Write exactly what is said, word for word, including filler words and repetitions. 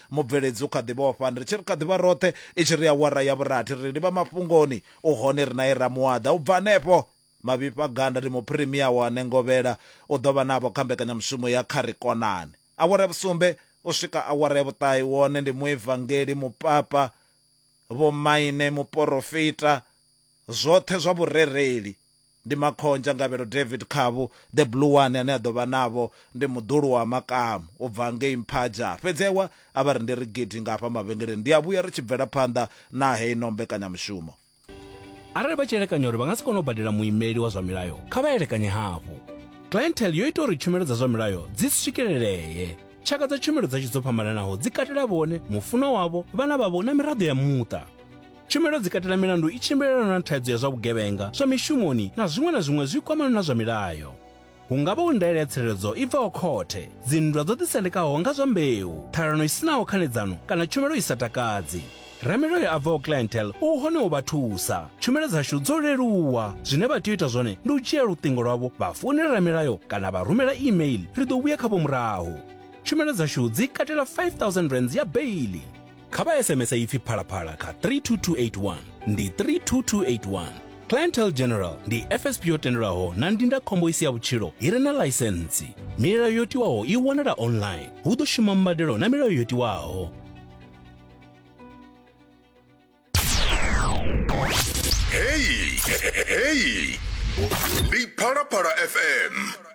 Mubveledzi u kha ḓi vhofha ri tshi ri kha ḓivha roṱhe i tshi ri awara ya vhurathi ri livha mafhungoni u hone ri naye Ramuwaḓa u bva hanefho Mavhifha Ganda ndi muphirimia wa Nengovhela u ḓo vha navho kha mbekanyamushumo ya Kha Ri Konane. Awara ya vhusumbe u swika awara ya vhuṱahe wone ndi muevangeli mupapa vhomaine muporofita zwoṱhe zwa vhurereli ndi Makhonzha Ngavhelo David Khavhu the blue one ane a ḓo vha navho ndi muḓulu wa Makamu u bva ngei Mphaja. Fhedzi ewa a vha ri ndi ri gidi nga hafha mavhengeleni ndi a vhuya ri tshi bvela phanḓa na heino mbekanyamushumo. Arali vha tshi elekanya uri vha nga si kone u badela muimeli wa zwa milayo, kha vha elekanye hafhu. Clientele yo ita uri tshumelo dza zwa milayo dzi swikelelee. Tshaka dza tshumelo dzashu dzo fhambananaho dzi katela vhone, mufunwa wavho, vhana vhavho na miraḓo ya muṱa. Tshumelo dzi katela milandu i tshimbilelanaho na thaidzo ya zwa vhugevhenga, zwa mishumoni na zwiṅwe na zwiṅwe zwi kwamanaho na zwa milayo. Hu nga vha hu ndaela ya tsireledzo i bvaho khothe, dzinndwa dzo ḓisendekaho nga zwa mbeu, ṱhalano i sinaho khanedzano kana tshumelo i sa takadzi. Ramilayo a bvaho Clientele u hone u vha thusa. Tshumelo dzashu dzo leluwa. Zwine vha tea u ita zwone ndi u dzhia luṱingo lwavho vha founela ramilayo kana vha rumela email, ri ḓo vhuya khavho murahu. Tshumelo dzashu dzi katela five thousand rands ya beili. Kha vha S M S ipfi Phalaphala kha three two two eight one ndi three two two eight one. Clientele General ndi F S P yo tendelwaho na ndindakhombo i si ya vhutshilo i re na ḽaisentsi. Milayo yo tiwaho i wanala online. Hu ḓo shuma mbadelo na milayo yo tiwaho. Hey, hey, ndi Phalaphala F M.